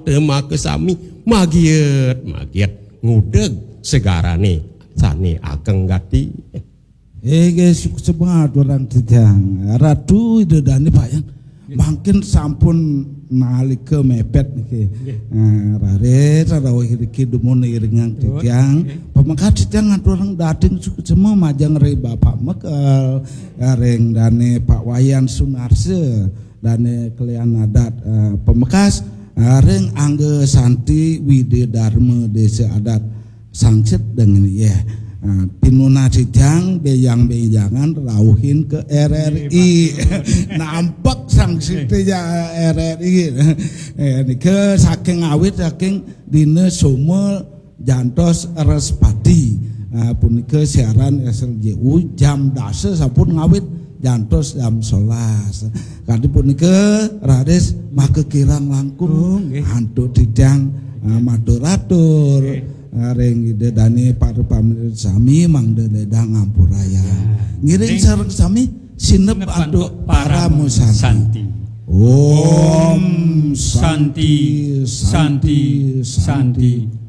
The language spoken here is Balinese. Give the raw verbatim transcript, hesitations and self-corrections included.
Maka sami magiet magiet ngudeg segarane sane ageng gati. Inggih, suksma aturang titiang. Ratu Ida Dane Pak Yang. Mangkin sampun nalika mepet niki. Nah, raris rauh niki dumun iringang titiang. Pamekad titiang aturang dating suksma majeng ring Bapak Mekel, ring dane Pak Wayan Sunarsa, dane kelian adat, eh, Pamekas, eh, ring Angga Santi Widya Dharma Desa Adat Sangsit dengan ya. Nah, pinunas titiang bejang-bejangan rauhin ke R R I. Nampak sangsit ya R R I. Eh, nika saking awit saking dina Soma jantos Respati. Ah, punika siaran S L J U jam dasa sampun ngawit jantos jam sebelas. Kadi punika raris maka kirang langkung antuk titiang, ah, matur-atur, ah, ring Ida Dane para pamirsa sami mangda ledang ngampurayang. Ngiring sareng sami sineb antuk Parama Santi. Om Santi, Santi, Santi.